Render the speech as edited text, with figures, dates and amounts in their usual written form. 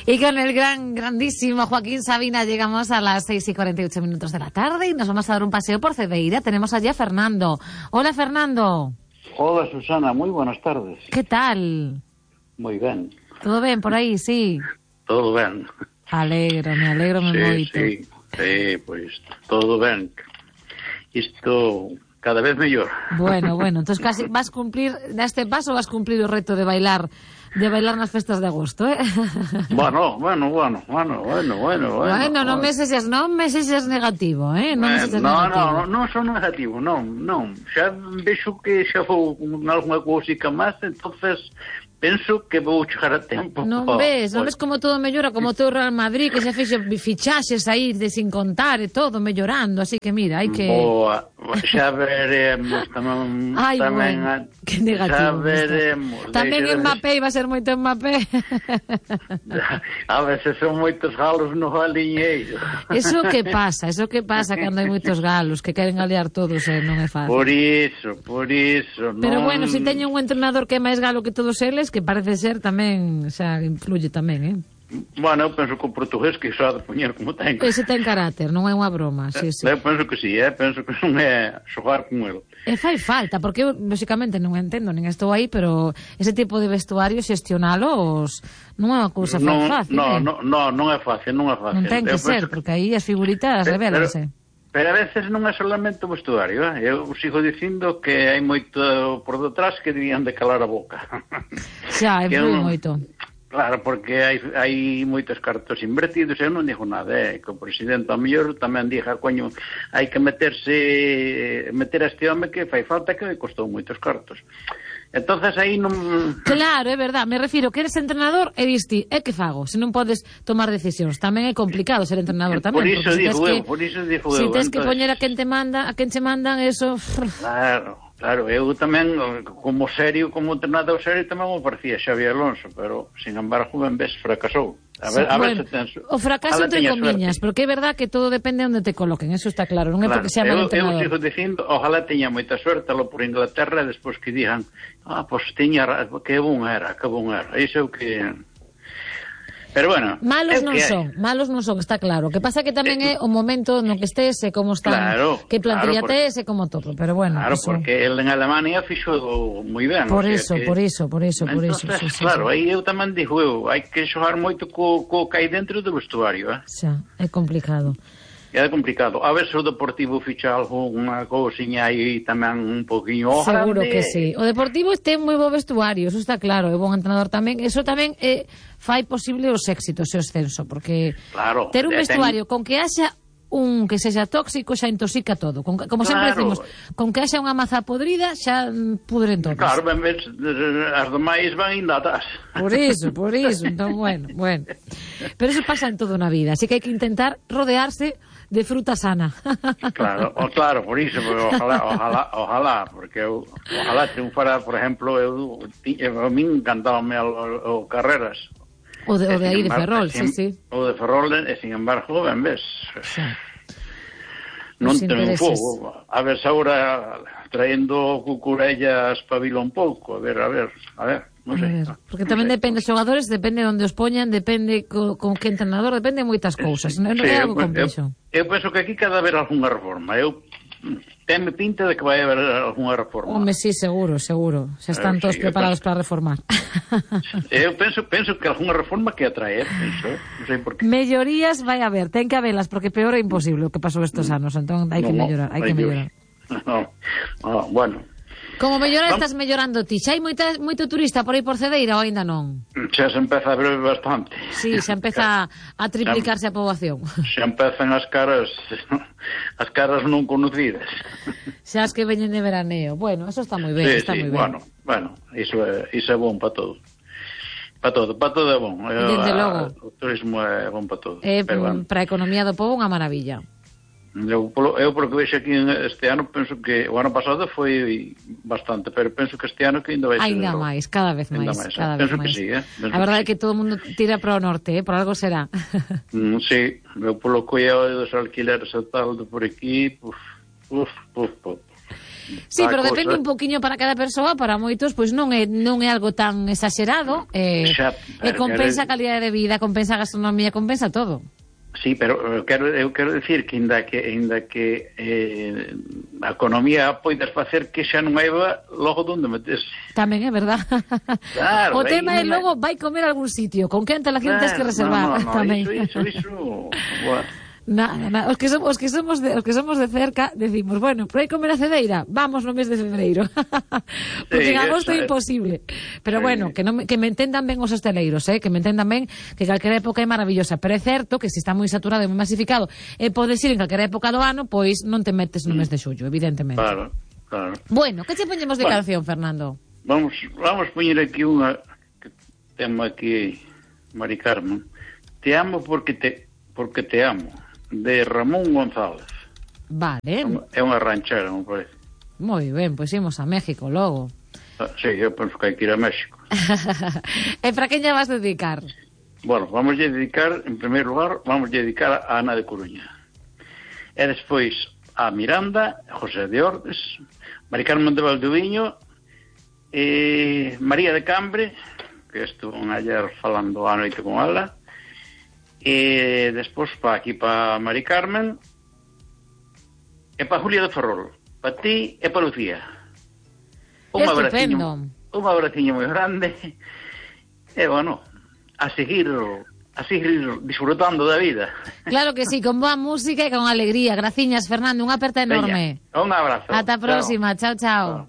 Y con el grandísimo Joaquín Sabina llegamos a las 6:48 de la tarde y nos vamos a dar un paseo por Cedeira. Tenemos allí a Fernando. Hola, Fernando. Hola, Susana, muy buenas tardes. ¿Qué tal? Muy ben. ¿Todo ben por aí, sí? Todo ben. Alegro moito. Sí, pois todo ben. Isto cada vez mellor. Bueno, entonces casi vas cumplir, neste paso vas cumplir o reto de bailar nas festas de agosto, eh? Bueno. Bueno, non me sexas negativo, eh? Non son negativo, non. Xa vexo que xa vou nalgúna cousica máis, entonces penso que vou chegar a tempo. Non ves como todo mellora, como todo o Real Madrid, que xa fixo fichaxes aí de sin contar e todo mellorando, así que mira, hai que... Boa, xa veremos tamén... Ai, bueno, que negativo. Xa veremos. Tamén Mbappé, iba a ser moito Mbappé. A veces son moitos galos no galiñeiro. Eso que pasa cando hai moitos galos que queren aliar todos, non é fácil. Por iso. Pero bueno, se teño un entrenador que é máis galo que todos eles, que parece ser tamén, xa influye tamén, eh? Bueno, eu penso que o portugués que xa de poñer como ten. Ese ten carácter, non é unha broma, sí. Eu penso que sí, penso que non é xogar con el. E fai falta, porque eu, lógicamente, non entendo, nin estou aí, pero ese tipo de vestuario xestionalos non é unha cousa fácil. Non é fácil. Non ten que ser, porque aí as figuritas revélanse. Pero a veces non é solamente o vestuario, eh? Eu sigo dicindo que hai moito por detrás que debían de calar a boca. Xa, influi moito. Claro, porque hai moitos cartos invertidos, eu non digo nada, que o presidente ao mellor tamén diga, coño, hai que meter a este home que fai falta, que costou moitos cartos. Entonces aí non... Claro, é verdad, me refiro que eres entrenador e diste, que fago? Se non podes tomar decisións, tamén é complicado ser entrenador tamén. Por iso digo eu. Se tens que poñer a quen che mandan, eso... Claro, eu tamén, como entrenador serio, tamén me parecía Xavi Alonso, pero, sin embargo, ben vez fracasou. A ver se tens... O fracaso entre comiñas, porque é verdad que todo depende de onde te coloquen, eso está claro, non é porque sea mal entrenador. Eu sigo dicindo, ojalá teña moita suerte lo por Inglaterra, e despois que digan, pois teña, que bon era, iso é o que... Pero bueno, malos non son, está claro. O que pasa que tamén é o momento no que estés e como están, que plantilla tes e como todo, pero bueno. Claro, porque el en Alemania fixo moi ben. Por iso. Claro, aí eu tamén digo, hai que xogar moito co que hai dentro do vestuario, eh? Xa, é complicado. É complicado. A ver se o Deportivo ficha algunha cousiña aí tamén un poquinho seguro grande. Que sí. O Deportivo ten moi bo vestuario, eso está claro, é bon entrenador tamén. Eso tamén fai posible os éxitos e o ascenso, porque claro, ter un vestuario con que haxa un que sexa tóxico xa intoxica todo. Como sempre decimos, con que haxa unha maza podrida xa pudren todos. Claro, ben ves, as demais van indo atrás. Por iso. Entón, bueno. Pero eso pasa en todo na vida, así que hai que intentar rodearse de fruta sana. Claro, por iso, ojalá, porque ojalá triunfara, por exemplo, a min encantábame o Carreras. O de aí de Ferrol, sí. O de Ferrol, e sin embargo, ben ves. Non triunfou. A ver se agora traendo Cucurella espabila un pouco. A ver, non sei. Porque tamén depende dos xogadores, depende onde os poñan, depende con que entrenador, depende de moitas cousas. Non é algo complexo. Eu penso que aquí cada haber algunha reforma. Tenme pinta de que vai haber algunha reforma. Home, sí, seguro. Xa están todos preparados para reformar. Eu penso que algunha reforma que atrae, non sei por qué. Mellorías vai haber, ten que habelas, porque peor é imposible o que pasou estes anos, entón hai que mellorar, Bueno. Como mellorar estás mellorando ti? Xa hai moito turista por aí por Cedeira ou ainda non? Xa se empeza a ver bastante. Sí, xa empeza a triplicarse a poboación. Xa empezan as caras non conocidas. Xa as que veñen de veraneo. Bueno, eso está moi ben, está moi ben. Bueno, iso é bon para todo. Para todo é bon. Desde logo. O turismo é bon para todo. Para a economía do pobo unha maravilla. Eu polo que vexo aquí este ano, penso que o ano pasado foi bastante, pero penso que este ano que ainda vai ser ainda máis, cada vez máis. Penso que sí, a verdade é que todo o mundo tira para o norte, por algo será. Sí, eu polo que dos alquileres e tal de por aquí, Sí, pero depende un poquinho para cada persoa, para moitos, pois non é algo tan exagerado, e compensa a calidade de vida, compensa a gastronomía, compensa todo. Sí, pero eu quero decir que ainda que a economía poidas facer que xa non haiba logo donde meterse. Tamén é verdad. Claro, o tema é logo vai comer a algún sitio, con que antelación tens que reservar tamén. Iso. Nada. Os que somos de cerca decimos, bueno, pero hai comer a cedeira, vamos no mes de febreiro. Porque en agosto é imposible. Pero bueno, que me entendan ben os hosteleiros, que me entendan ben que calquera época é maravillosa, pero é certo que se está moi saturado e moi masificado e podes ir en calquera época do ano, pois non te metes no mes de xullo, evidentemente. Claro. Bueno, que che poñemos de canción, Fernando? Vamos poñer aquí unha que temo aquí, Mari Carmen. Te amo porque te amo, de Ramón González. Vale. É unha ranchera, me parece. Moi ben, pois imos a México logo. Sí, eu penso que hai que ir a México. E para quen lle vas dedicar? Bueno, en primeiro lugar, vamos dedicar a Ana de Coruña. E despois a Miranda, José de Ordes, Mari Carmen de Valdoviño, María de Cambre, que estuvo ayer falando a noite con ela, e despois para Mari Carmen e para Julia de Ferrol, para ti e para Lucía. Un abraciño moi grande e bueno, a seguir disfrutando da vida. Claro que sí, con boa música e con alegría. Graciñas, Fernando, unha aperta enorme. Veña, un abrazo. Ata a próxima, chao.